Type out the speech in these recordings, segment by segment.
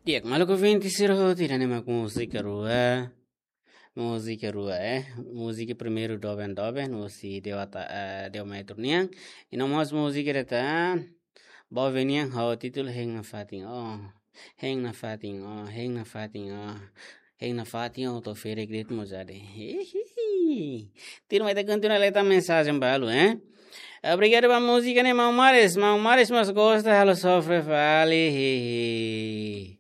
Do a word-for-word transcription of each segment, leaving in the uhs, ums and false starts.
Di'ak, maluk ouvinte sira hotu, ida-ne'e mak múzika rua. Múzika rua, eh. Múzika primeiru Doben Doben, husi Dewa Ta-, eh, Dewa Metro nian. I no mós múzika ida tan, Bove nian ho títulu Hein Nafatin O. Hein Nafatin O, Hein Nafatin O. Hein Nafatin O, to'o ferik de'it mós jadi. Hihihi. Tuirmai ita kontinua leta mensajen balu, eh. Obrigadu ba múzika ne'e, Maun Maris. Maun Maris mós gosta halo sofre fali. Hihi.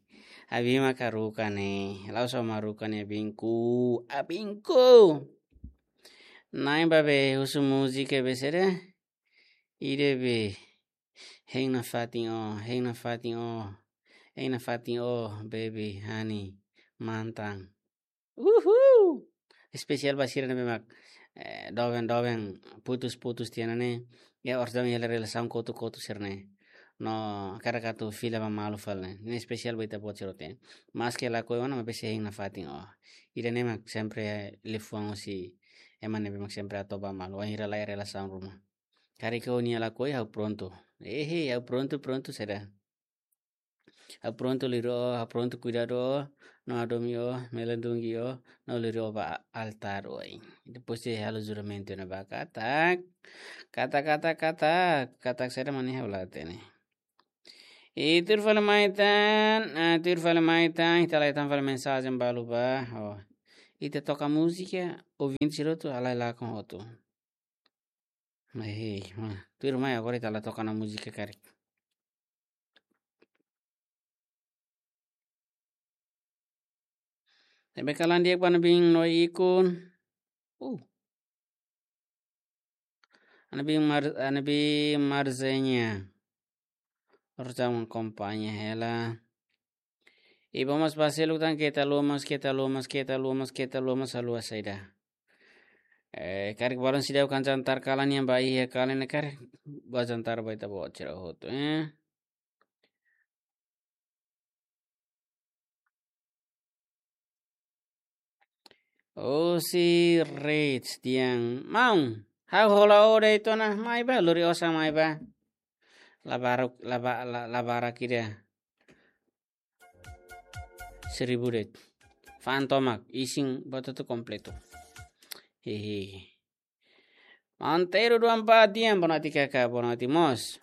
Abin mak haruka ne'e. La'ós ó mak haruka ne'e, abinku. Abinku. Na'in ba be husu múzika be saida? Ida be. Hein Nafatin O, Hein Nafatin O. Hein Nafatin O, baby, honey, mantan. Uhul! Espesiál ba sira ne'ebé mak, eh, doben-doben, putus-putus tiha ona ne'e. Ya, orsida hela relasaun kotuk-kotuk sira-ne'e. No, hakarak atu fila ba malu fali ne'e. Ne'e espesiál ba ita-boot sira hotu. Maske lakohi ona, maibé sei Hein Nafatin O. Ida-ne'e mak sempre liafuan husi ema ne'ebé mak sempre atu ba malu. Wainhira laiha relasaun ruma. Karik ó-nia lakohi, ha'u prontu. Ehe, ha'u prontu, prontu saida. Ha'u prontu lori ó, ha'u prontu kuidadu ó, no hadomi ó, melindungi ó, no lori ó ba altár oin. Depois de halo juramentu ne'ebá katak. Katak, katak, katak. Katak saida mak ne'e ha'u la hatene. I tuir fali mai tan, ah, tuir fali mai tan, ita lai tan fali mensajen balu ba. Oh. Ita toka múzika, ouvinte sira hotu, halai lakon hotu. Mai, hei, ma. Tuirmai agora ita la toka ona múzika karik. Ne'ebé kalan di'ak ba Ana Bin no Ikun. Uh. Ana Bin Mar-, Ana Bin Marzenha. Orsida akompaña hela. I ba mós ba seluk tan keta lomas, keta lomas, keta lomas, keta lomas haluha saida. Eh, karik balun seidauk kan jantar kalan nian ba iha kalan ne'e karik ba jantar ba ita-boot sira hotu, eh. Husi Rich dehan, maun, ha'u hola ó de'it ona, mai ba, lori osan mai ba. Labarak, laba-, la-, labarak ida. Seribu de'it. Fa'an tomak, isin buat hotu kompletu. Hehe. Maun Teru dua empat dehan, boa noite karik, boa noite mós.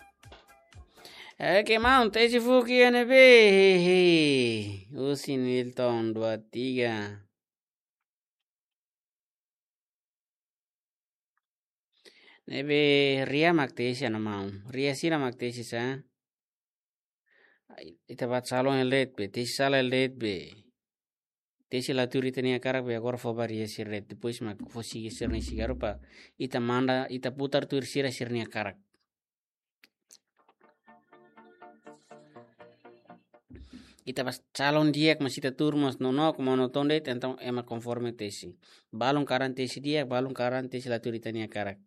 Oke, maun, tesi fuuk iha ne'ebé, hehe. Husi Nilton dua tiga. Ne'ebé ria mak tesi, Ana Maun. Ria sira mak tesi sá. Ai, ita bá salon hela de'it be, tesi sala hela de'it be. Tesi la tuir ita-nia hakarak be agora fó ba ria sira de'it. Depois mak fó siga sira-nia sigarru para ita manda, ita putar tuir sira sira-nia hakarak. Ita bá salon di'ak, mas ita tuur mós nonook, monoton de'it, entaun ema konforme tesi. Balun karik tesi di'ak, balun karik tesi la tuir ita-nia hakarak.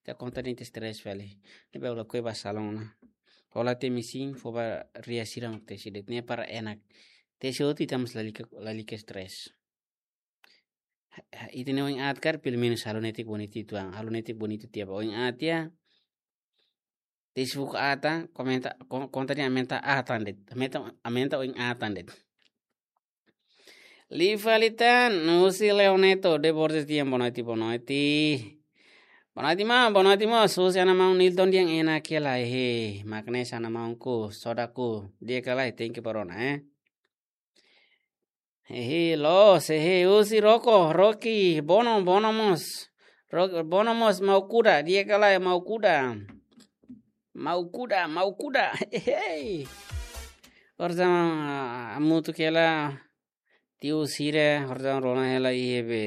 Ita konta de'it stress fali. Ne'ebé ha'u lakohi bá salon ona. Hola tiha mesin, fó ba ria sira mak tesi de'it. Ne'e para enak. Tesi hotu ita mós lalika, lalika stress. Ha, ha, ita-nia oin aat karik, pelumenus halo netik bonitu uitoan. Halo netik bonitu tiha ba oin aat tiha. Tesi fuuk aat, komenta, kon-, konta dehan aumenta aat tan de'it. Aumenta, aumenta oin aat tan de'it. Liu fali tan, husi Leoneto de Borges dehan boa noite, boa noite. Boa noite, maun, boa noite, mós. Husi Ana Maun Nilton dehan enak hela, hehe. Mak ne'e sá, Ana Maunku, sodaku. Di'ak ka lae, thank you ba rona, eh. Hehe, loos, hehe, husi Roko, Roki, Bono, Bono mós. Ro-, Bono mós, mau kuda, di'ak ka lae, mau kuda. Mau kuda, mau kuda, hehe. Orsida hamutuk hela, tiu sira, orsida rona hela iha be.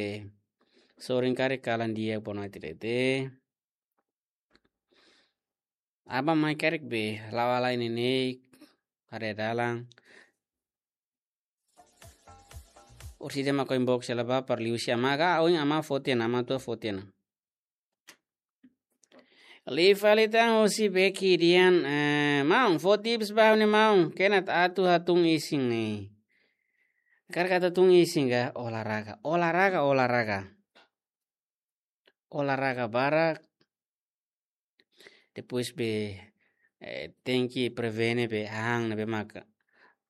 Sorin karik kalan di'ak, boa noite de'it. Aban mai karik be, la'o halai neineik, haree dalan. Orsida mak inbox hela ba para liuhusi amá ka, oin amá fó tiha ona, amá tua fó tiha ona. Liu fali tan husi Beki dehan, eh, maun, fó tips ba ha'u-nia maun, kena atu hatún isin ne'e. Karik atu hatún isin ka, olahraga, olahraga, olahraga. Olahraga barak. Depois be, eh, tenke prevene be hahán ne'ebé maka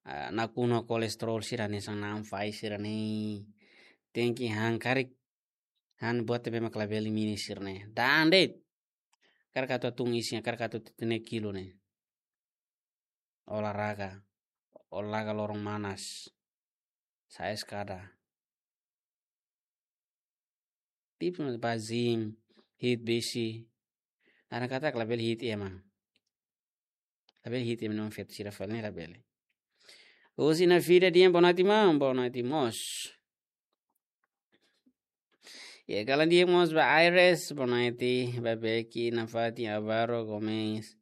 ah, nakonu kolesterol sira-ne'e, sang na'an fai sira-ne'e. Tenke han karik, han buat ne'ebé mak labele mini sira-ne'e. Da'an de'it. Karik atu tun isin, karik atu tene kilo ne'e. Olahraga. Olahraga loron manas. Sa'e eskada. Tips mak bá gym, hi'it besi. Laran katak labele hi'it ema. Labele hi'it ema, no feto sira fali ne'e labele. Husi Nafida Dian, boa noite, maun. Boa noite mós. Iha kalan di'ak mós ba Aires, boa noite, ba Becky, Nafati, Alvaro, Gomes,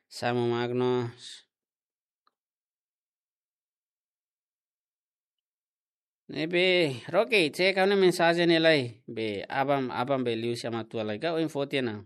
Samu, Magnus. Ne'ebé, Roque, cek ha'u-nia mensajen ne'e lai. Be, aban, aban be liu simu atu lai. Ka oin foti ona.